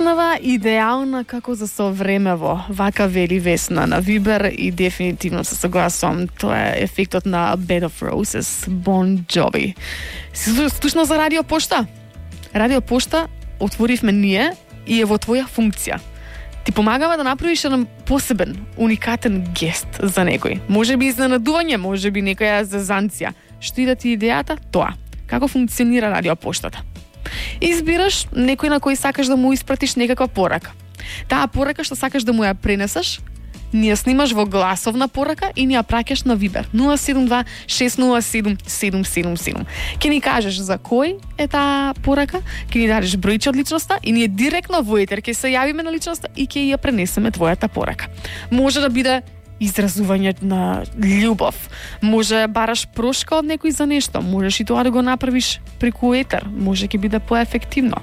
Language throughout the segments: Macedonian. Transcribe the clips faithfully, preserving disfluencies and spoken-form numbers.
Изгледава идеална како за совремево, вака вели Весна на Вибер и дефинитивно се согласувам. Тоа е ефектот на Bed of Roses, Bon Jovi. Си слушнал за Радио Пошта? Радио Пошта отворивме ние и е во твоја функција. Ти помагава да направиш еден посебен, уникатен гест за некој. Може би изненадување, може би некоја зазанција. Што и да ти идејата, тоа. Како функционира Радио Поштата? Избираш некој на кој сакаш да му испратиш некаква порака. Таа порака што сакаш да му ја пренесеш, ни ја снимаш во гласовна порака и ни ја праќаш на Вибер нула седум два шест нула седум седум седум седум. Ке ни кажеш за кој е таа порака, ке ни дадеш бројче од личноста и ние директно во етер ке се јавиме на личноста и ке ја пренесеме твојата порака. Може да биде изразување на љубов. Може бараш прошка од некој за нешто. Можеш и тоа да го направиш преку етер. Може ќе биде поефективно.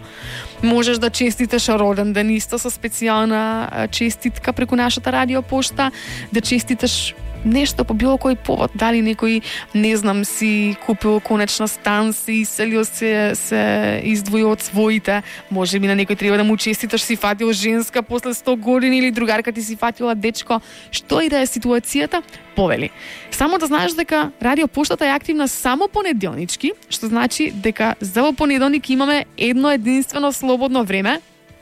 Можеш да честиташ роден ден исто со специјална честитка преку нашата Радио Пошта, да честиташ нешто по било кој повод, дали некој, не знам, си купил конечно стан, си иселил се, се издвоил од своите, може би на некој треба да му честиташ, си фатил женска после сто години или другарка ти си фатила дечко, што и да е ситуацијата, повели. Само да знаеш дека Радио Поштата е активна само понеделнички, што значи дека за во понеделник имаме едно единствено слободно време,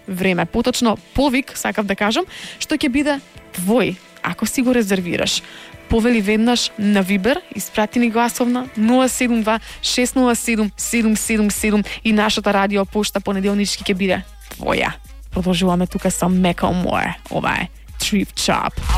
време, поточно повик, сакав да кажам, што ќе биде твој, ако си го резервираш. Повели веднаш на Вибер, испрати ни гласовна нула седум два шест нула седум седум седум седум и нашата Радио Пошта понеделнички ќе биде твоја. Продолжуваме тука со Macklemore. Ова е Thrift Shop.